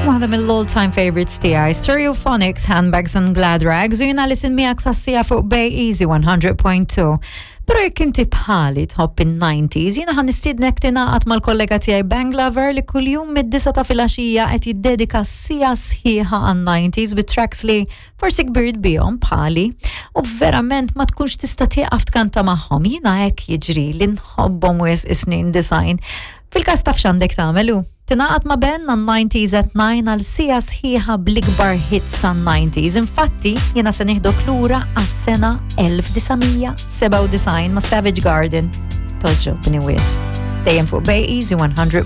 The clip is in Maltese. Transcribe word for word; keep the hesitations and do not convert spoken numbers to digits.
Waħda mill-all time favorites tiegħi, Stereophonics, Handbags and Glad Rags, u jiena li miegħek sas-siegħa fuq Bay Easy one hundred point two. Pero jekk inti bħali tħobb in-nineties, jiena ħa nistiednek tingħaqad mal-kollega tiegħi Bang Lover li kuljum mid-disgħa ta' filgħaxija qed jiddedika siegħa sħiħa għan-nineties bi tracks li forsi kbirt bihom bħali u verament ma tkunx tista' tieqaf tkanta magħhom. Jiena hekk jiġri li nħobbhom wisq is-snin disgħin. Fil-każ taf x'għandek tagħmel u tingħaqad ma' Ben għan nineties at nine għal siegħa sħiħa bl-ikbar hits tan-nineties. Infatti, jiena se nieħdok lura għas-sena elf disa' mija sebgħa u disgħin ma' Savage Garden. Togħġobni wisq. Dejjem fuq Bay Easy one hundred.